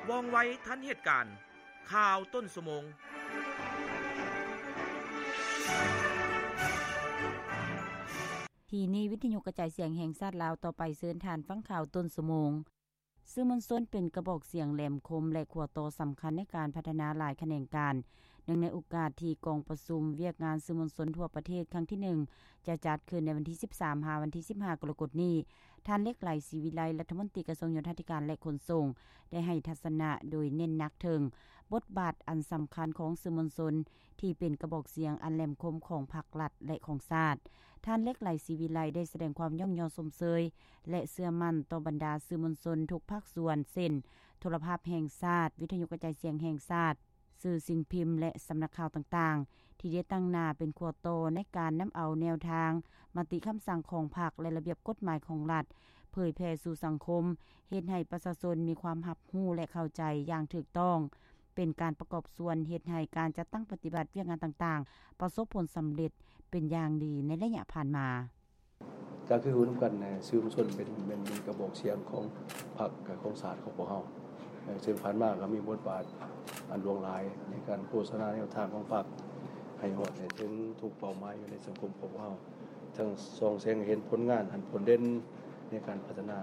ວ່ອງໄວທັນເຫດການ. ຂ່າວຕົ້ນຊົ່ວໂມງ. ທີ່ນີ້ ວິທຍຸກະຈາຍສຽງແຫ່ງຊາດລາວ. ຕໍ່ໄປເຊີນທ່ານຟັງຂ່າວຕົ້ນຊົ່ວໂມງ. ສື່ມວນຊົນເປັນກະບອກສຽງແຫຼມຄົມ ແລະ ຂົວຕໍ່ສຳຄັນໃນການພັດທະນາຫຼາຍຂະແໜງການ. ເນື່ອງໃນໂອກາດທີ່ກອງປະຊຸມວຽກງານສື່ມວນຊົນທົ່ວປະເທດຄັ້ງທີໜຶ່ງ ຈະຈັດຂຶ້ນໃນວັນທີສິບສາມ ຫາວັນທີສິບຫ້າ ກໍລະກົດນີ້, ທ່ານ ເລັກໄຫຼ ສີວິໄລ ລັດຖະມົນຕີກະຊວງໂຍທາທິການ ແລະ ຂົນສົ່ງ ໄດ້ໃຫ້ທັດສະນະໂດຍເນັ້ນໜັກເຖິງບົດບາດອັນສຳຄັນຂອງສື່ມວນຊົນ ທີ່ເປັນກະບອກສຽງອັນແຫຼມຄົມຂອງພັກລັດ ແລະ ຂອງຊາດ. ທ່ານ ເລັກໄຫຼ ສີວິໄລ ໄດ້ສະແດງຄວາມຍ້ອງຍໍຊົມເຊີຍ ແລະ ເຊື່ອໝັ້ນຕໍ່ບັນດາສື່ມວນຊົນທຸກພາກສ່ວນ ເຊັ່ນ ໂທລະພາບແຫ່ງຊາດ, ວິທະຍຸກະຈາຍສຽງແຫ່ງຊາດ, ສື່ສິ່ງພິມ ແລະ ສຳນັກຂ່າວຕ່າງໆ ທີ່ໄດ້ຕັ້ງໜ້າເປັນຂົວຕໍ່ໃນການນຳເອົາແນວທາງ, ມະຕິຄຳສັ່ງຂອງພັກ ແລະ ລະບຽບກົດໝາຍຂອງລັດ ເຜີຍແຜ່ສູ່ສັງຄົມ, ເຮັດໃຫ້ປະຊາຊົນມີຄວາມຮັບຮູ້ ແລະ ເຂົ້າໃຈຢ່າງຖືກຕ້ອງ, ເປັນການປະກອບສ່ວນເຮັດໃຫ້ການຈັດຕັ້ງປະຕິບັດວຽກງານຕ່າງໆ ປະສົບຜົນສຳເລັດເປັນຢ່າງດີໃນໄລຍະຜ່ານມາ. ກໍຄືຮູ້ນຳກັນ ເອີ ສື່ມວນຊົນເປັນ ເປັນ ເປັນກະບອກສຽງຂອງພັກ ແລະ ຂອງຊາດຂອງພວກເຮົາ. ເອີ ເຊິ່ງຜ່ານມາກໍມີບົດບາດອັນຫຼວງຫຼາຍໃນການໂຄສະນາແນວທາງຂອງພັກ ໃຫ້ຮອດໃຫ້ເຖິງທຸກເປົ້າໝາຍຢູ່ໃນສັງຄົມຂອງພວກເຮົາ. ທັງສ່ອງແສງໃຫ້ເຫັນຜົນງານອັນໂດດເດັ່ນໃນການພັດທະນາ,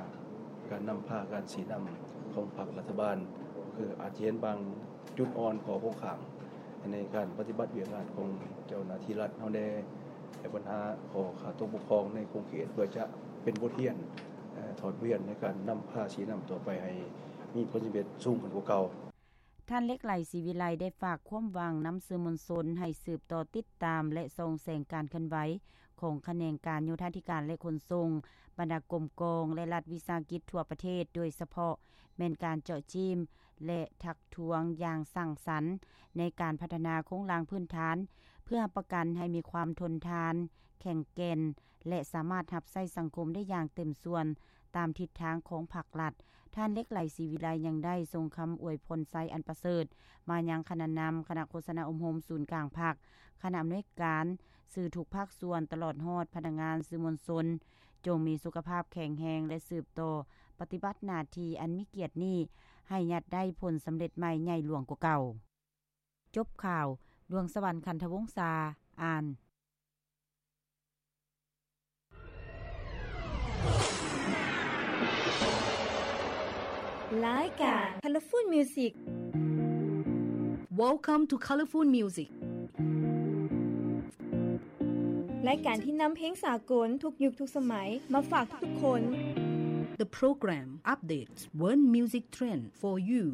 ການນຳພາ, ການຊີ້ນຳຂອງພັກລັດຖະບານ, ຄືອາດຈະເຫັນບາງຈຸດອ່ອນ, ຂໍ້ຄົງຄ້າງໃນການປະຕິບັດວຽກງານຂອງເຈົ້າໜ້າທີ່ລັດເຮົາແດ່, ແລະ ບັນຫາຂໍ້ຂາດຕົກບົກຜ່ອງໃນຂົງເຂດ ເພື່ອຈະເປັນບົດຮຽນ, ເອີ ຖອດບົດຮຽນໃນການນຳພາຊີ້ນຳຕໍ່ໄປໃຫ້ມີຜົນສຳເລັດສູງຂຶ້ນກວ່າເກົ່າ. ທ່ານ ເລັກໄຫຼ ສີວິໄລ ໄດ້ຝາກຄວາມຫວັງນຳສື່ມວນຊົນໃຫ້ສືບຕໍ່ຕິດຕາມ ແລະ ສ່ອງແສງການເຄື່ອນໄຫວຂອງຂະແໜງການໂຍທາທິການ ແລະ ຂົນສົ່ງ, ບັນດາກົມກອງ ແລະ ລັດວິສາຫະກິດທົ່ວປະເທດ, ໂດຍສະເພາະແມ່ນການເຈາະຈີ້ມ ແລະ ທັກທ້ວງຢ່າງສ້າງສັນໃນການພັດທະນາໂຄງລ່າງພື້ນຖານ ເພື່ອຮັບປະກັນໃຫ້ມີຄວາມທົນທານ, ແຂງແກ່ນ ແລະ ສາມາດຮັບໃຊ້ສັງຄົມໄດ້ຢ່າງເຕັມສ່ວນ ຕາມທິດທາງຂອງພັກລັດ. ທ່ານ ເລັກໄຫຼ ສີວິໄລ ຍັງໄດ້ສົ່ງຄຳອວຍພອນໄຊອັນປະເສີດມາຍັງຄະນະນຳ, ຄະນະໂຄສະນາອົບຮົມສູນກາງພັກ, ຄະນະອຳນວຍການ, ສື່ທຸກພາກສ່ວນ, ຕະຫຼອດຮອດພະນັກງານສື່ມວນຊົນ, ຈົ່ງມີສຸຂະພາບແຂງແຮງ ແລະ ສືບຕໍ່ປະຕິບັດໜ້າທີ່ອັນມີກຽດນີ້ ໃຫ້ຍາດໄດ້ຜົນສຳເລັດໃໝ່ໃຫຍ່ຫຼວງກວ່າເກົ່າ. ຈົບຂ່າວ, ດວງສະຫວັນ ຂັນທະວົງສາ ອ່ານ. ລາຍການ Colorful Music. Welcome to Colorful Music. ລາຍການທີ່ນຳເພງສາກົນທຸກຍຸກທຸກສະໄໝມາຝາກທຸກໆຄົນ. The program updates world music trend for you.